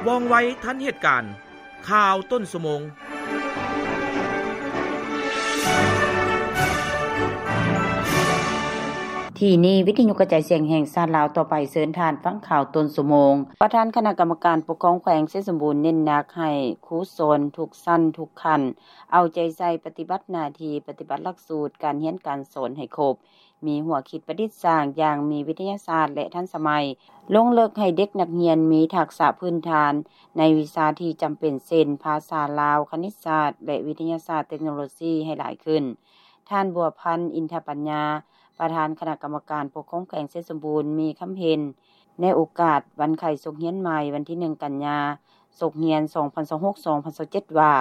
ວ່ອງໄວທັນເຫດການ. ຂ່າວຕົ້ນຊົ່ວໂມງ. ທີ່ນີ້ ວິທະຍຸກະຈາຍສຽງແຫ່ງຊາດລາວ. ຕໍ່ໄປເຊີນທ່ານຟັງຂ່າວຕົ້ນຊົ່ວໂມງ. ປະທານຄະນະກຳມະການປົກຄອງແຂວງໄຊສົມບູນເນັ້ນໜັກໃຫ້ຄູສອນທຸກຊັ້ນທຸກຂັ້ນ ເອົາໃຈໃສ່ປະຕິບັດໜ້າທີ່, ປະຕິບັດຫຼັກສູດການຮຽນການສອນໃຫ້ຄົບ, ມີຫົວຄິດປະດິດສ້າງຢ່າງມີວິທະຍາສາດ ແລະ ທັນສະໄໝ, ລົງເລິກໃຫ້ເດັກນັກຮຽນມີທັກສະພື້ນຖານໃນວິຊາທີ່ຈຳເປັນ ເຊັ່ນ ພາສາລາວ, ຄະນິດສາດ ແລະ ວິທະຍາສາດເຕັກໂນໂລຊີໃຫ້ຫຼາຍຂຶ້ນ. ທ່ານ ບົວພັນ ອິນທະປັນຍາ ປະທານຄະນະກຳມະການປົກຄອງແຂວງໄຊສົມບູນ ມີຄຳເຫັນໃນໂອກາດວັນໄຂ້ສົກຮຽນໃໝ່ ວັນທີໜຶ່ງ ກັນຍາ ສົກຮຽນ ສອງພັນຊາວຫົກ ສອງພັນຊາວເຈັດ ວ່າ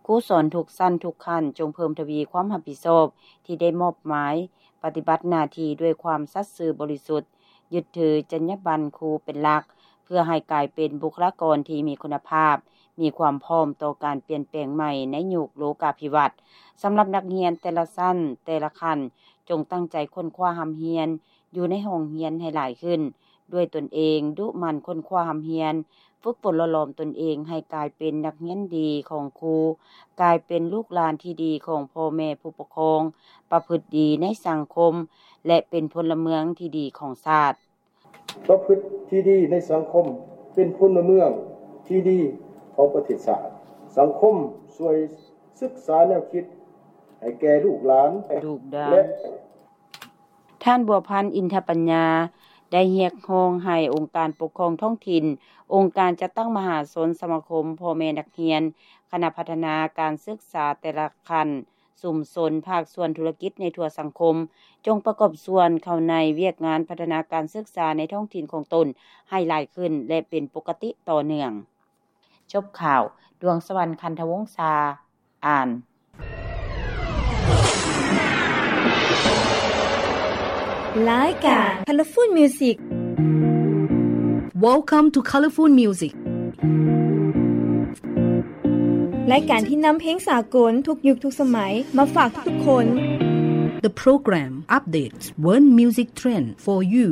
ຄູສອນທຸກຊັ້ນທຸກຂັ້ນ ຈົ່ງເພີ່ມທະວີຄວາມຮັບຜິດຊອບທີ່ໄດ້ມອບໝາຍ, ປະຕິບັດໜ້າທີ່ດ້ວຍຄວາມສັດຊື່ບໍລິສຸດ, ຍຶດຖືຈັນຍາບັນຄູເປັນຫຼັກ, ເພື່ອໃຫ້ກາຍເປັນບຸກຄະລາກອນທີ່ມີຄຸນນະພາບ, ມີຄວາມພ້ອມຕໍ່ການປ່ຽນແປງໃໝ່ໃນຍຸກໂລກາພິວັດ. ສຳລັບນັກຮຽນແຕ່ລະຊັ້ນ, ແຕ່ລະຂັ້ນ, ຈົ່ງຕັ້ງໃຈຄົ້ນຄວ້າຮ່ຳຮຽນຢູ່ໃນຫ້ອງຮຽນໃຫ້ຫຼາຍຂຶ້ນ ດ້ວຍຕົນເອງ, ດຸໝັ່ນຄົ້ນຄວ້າຮ່ຳຮຽນ, ຝຶກຝົນຫຼໍ່ຫຼອມຕົນເອງໃຫ້ກາຍເປັນນັກຮຽນດີຂອງຄູ, ກາຍເປັນລູກຫຼານທີ່ດີຂອງພໍ່ແມ່ຜູ້ປົກຄອງ, ປະພຶດດີໃນສັງຄົມ ແລະ ເປັນພົນລະເມືອງທີ່ດີຂອງຊາດ. ປະພຶດທີ່ດີໃນສັງຄົມ, ເປັນພົນລະເມືອງທີ່ດີຂອງປະເທດຊາດ. ສັງຄົມຊ່ວຍສຶກສາແນວຄິດໃຫ້ແກ່ລູກຫຼານ ລູກຫຼານ ແລະ ທ່ານ ບົວພັນ ອິນທະປັນຍາ ໄດ້ຮຽກຮ້ອງໃຫ້ອົງການປົກຄອງທ້ອງຖິ່ນ, ອົງການຈັດຕັ້ງມະຫາຊົນ, ສະມາຄົມພໍ່ແມ່ນັກຮຽນ, ຄະນະພັດທະນາການສຶກສາແຕ່ລະຂັ້ນ, ຊຸມຊົນ, ພາກສ່ວນທຸລະກິດໃນທົ່ວສັງຄົມ, ຈົ່ງປະກອບສ່ວນເຂົ້າໃນວຽກງານພັດທະນາການສຶກສາໃນທ້ອງຖິ່ນຂອງຕົນໃຫ້ຫຼາຍຂຶ້ນ ແລະ ເປັນປົກກະຕິຕໍ່ເນື່ອງ. ຈົບຂ່າວ. ດວງສະຫວັນ ຄັນທະວົງສາ ອ່ານ. ລາຍການ Colorful Music. Welcome to Colorful Music. ລາຍການທີ່ນຳເພງສາກົນທຸກຍຸກທຸກສະໄໝມາຝາກທຸກໆຄົນ. The program updates world music trend for you.